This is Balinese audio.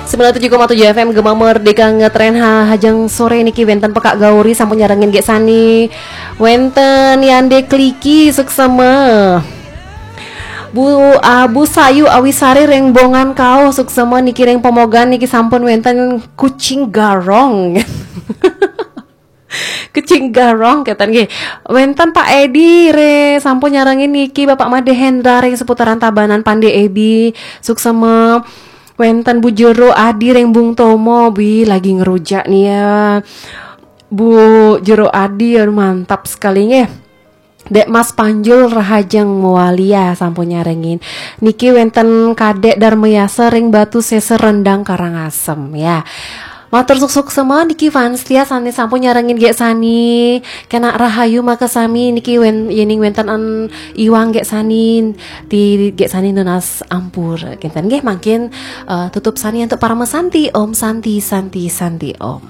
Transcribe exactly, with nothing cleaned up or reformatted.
Sembilan tujuh koma tujuh F M Gema Merdeka ngetren ha, hajeng sore niki wenten Pekak Gauri sampun nyarengin Gek Sani. Wenten Yande Kliki suksema. Bu Abu Sayu Awisari reng Bongan Kao suksema niki reng Pemogan niki sampun wenten Kucing Garong. Kucing Garong keten nggih. Wenten Pak Edi re sampun nyarengin niki Bapak Made Hendra reng seputaran Tabanan Pande Ebi suksema. Wenten Bu Jero Adi reng Bung Tomo, bi lagi ngerujak nih ya. Bu Jero Adi, aduh, mantap sekali nggih. Dek Mas Panjul Rahajeng Mualia sampun nyarengin. Niki wenten Kadek Darmayasa ring Batu Seser Rendang Karangasem ya. Matur suksema niki fans setia sane sampun nyarengin Gek Sani. Kena rahayu makasami niki wen, yening wenten an iwang Gek Sani, ti Gek Sani nunas ampur. Kenten nggih mangkin eh, tutup sani untuk Parama Santi. Om Santi, Santi, Santi Om.